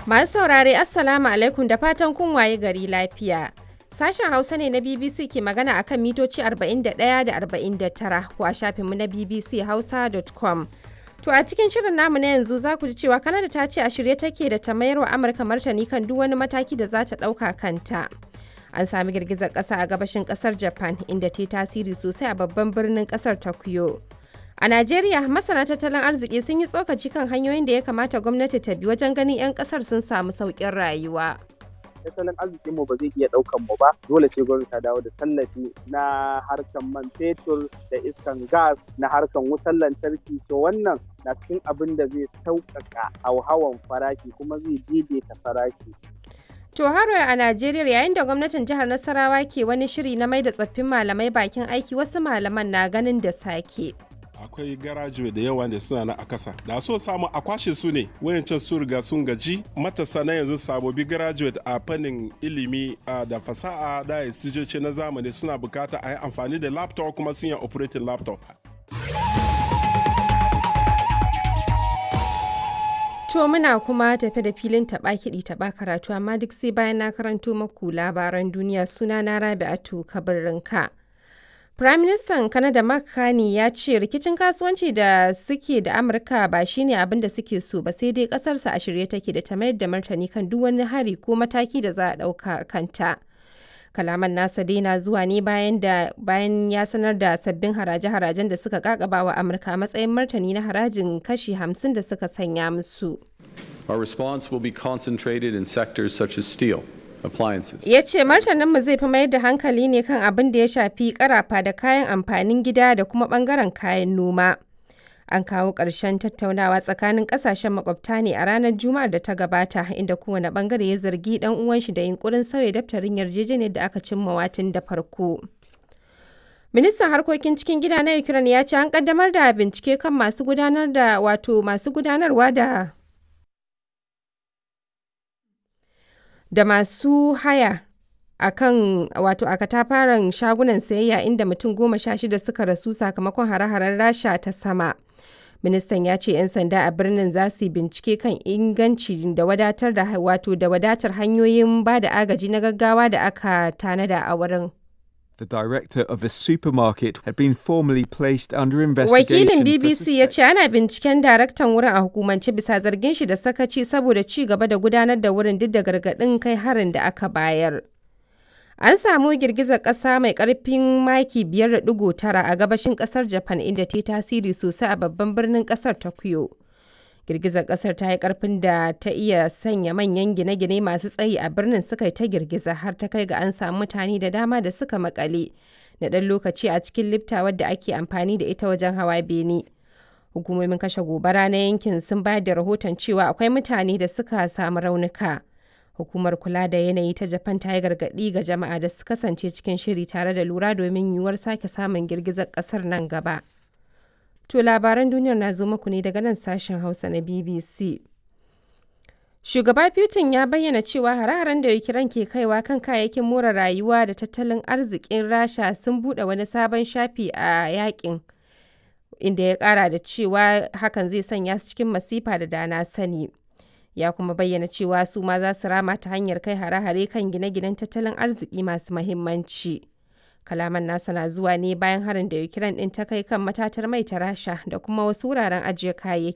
Masu saurare, Assalamu alaikum, da fatan kun waye gari lafiya. Sashen Hausa ne na BBC ke magana akan mitoci 41 da 49 ko a shafinmu na bbchausa.com. To, a cikin shirin namu na yanzu za ku ji cewa Kanada ta ce a shirye take da ta mayar wa Amurka martani kan duk wani mataki da za ta ɗauka kanta. An sami girgizar ƙasa a gabashin ƙasar Japan, inda ta yi tasiri sosai a babban birnin ƙasar Tokyo. A Najeriya, masana tattalin arziki sun yi tsokaci kan hanyoyin da ya kamata gwamnati ta bi wajen ganin 'yan ƙasar sun samu sauƙin rayuwa. Tattalin arzikin mu ba zai iya daukan mu ba, dole sai gwamnati ta dawo da tallafi na harkan man fetur da iskan gas, na harkan wutar lantarki. To, wannan na cikin abin da zai sauƙaƙa hauhawan farashi kuma zai daidaita farashi. To, haro a Najeriya, yayin da gwamnatin jihar Nasarawa ke wani shiri na mai da tsoffin malamai bakin aiki, wasu malaman na ganin da sake. Akwai garajuwe da yawa da suna na a kasa, da so samu a kwashe su ne. Wayancan su riga sun gaji. Matasa na yanzu, sabobi graduate a fannin ilimi da fasaha da instituce na zamani, suna bukata a yi amfani da laptop, kuma sun yi operating laptop. To, muna kuma tafe da filin taɓa kiɗi taɓa karatu, amma duk sai bayan na karanto maku labaran duniya. Suna na Rabi'atu Kabirinka. Firaministan Canada Mark Carney ya ce rikicin kasuwanci da suke da Amurka ba shine abin da suke so ba, sai dai kasarsa a shirye take da ta mayar da martani kan duk wani hari ko mataki da za a ɗauka kanta. Kalaman nasa dai na zuwa ne bayan da bayan ya sanar da sabbin haraje-harajen da suka kakaba wa Amurka a matsayin martani na harajin kashi 50 da suka sanya musu. Our response will be concentrated in sectors such as steel, appliances. Ya ce martaninmu zai fi mayar da hankali ne kan abin da ya shafi karafa da kayan amfanin gida da kuma bangaren kayan noma. An kawo ƙarshen tattaunawa tsakanin ƙasashen makwabta ne a ranar Juma'ar da ta gabata, inda kowane bangare ya zargi ɗan uwan shi da yunkurin sauya daftarin yarjejeniyar da aka cimma watin da farko. Ministan harkokin cikin gida na Ukraine ya ce an kaddamar da bincike kan masu gudanar da, wato masu gudanarwa da masu haya a kan, wato a katafaren shagunan sayayya inda mutum 16 suka rasu sakamakon hare-haren Rasha ta sama. Ministan ya ce 'yan sanda a birnin za su yi bincike kan inganci da wadatar da, wato da wadatar hanyoyin ba da agaji na gaggawa da aka tanada a wurin. The director of a supermarket had been formally placed under investigation. Wakilin BBC ya ce ana binciken daraktan wurin a hukumance bisa zargin shi da sakaci saboda ci gaba da gudanar da wurin duk da gargaɗin kai harin da aka bayar. An samu girgizar ƙasa mai ƙarfin maki 5.9 a gabashin ƙasar Japan, inda ta yi tasiri sosai a babban birnin ƙasar Tokyo. Girgizar ƙasar ta yi ƙarfin da ta iya sanya manyan gine-gine masu tsayi a birnin suka yi ta girgiza, har ta kai ga an samu mutane da dama da suka makale na ɗan lokaci a cikin lifta wadda ake amfani da ita wajen hawa bene. Hukumomin kashe gobara na yankin sun bayar da rahoton cewa akwai mutane da suka samu raunuka. Hukumar kula da yanayi ta Japan ta yi gargaɗi ga jama'a da su kasance cikin shiri tare da lura domin yiwuwar sake samun girgizar ƙasar nan gaba. To, labaran duniyar na zo muku ne daga nan sashen Hausa na BBC. Shugaba Putin ya bayyana cewa hare-haren da Ukraine ke kaiwa kan kayayyakin more rayuwa da tattalin arzikin Rasha sun buɗe wani sabon shafi a yakin, inda ya ƙara da cewa hakan zai sanya su cikin masifa da dana sani. Ya kuma bayyana cewa su ma za su rama ta hanyar kai hare-hare kan gine-ginen tattalin arziki masu mahimmanci. Kalaman nasa na zuwa ne bayan harin da Ukraine din ta kai kan matatar mai ta Rasha da kuma wasu wuraren ajiye kayayyaki.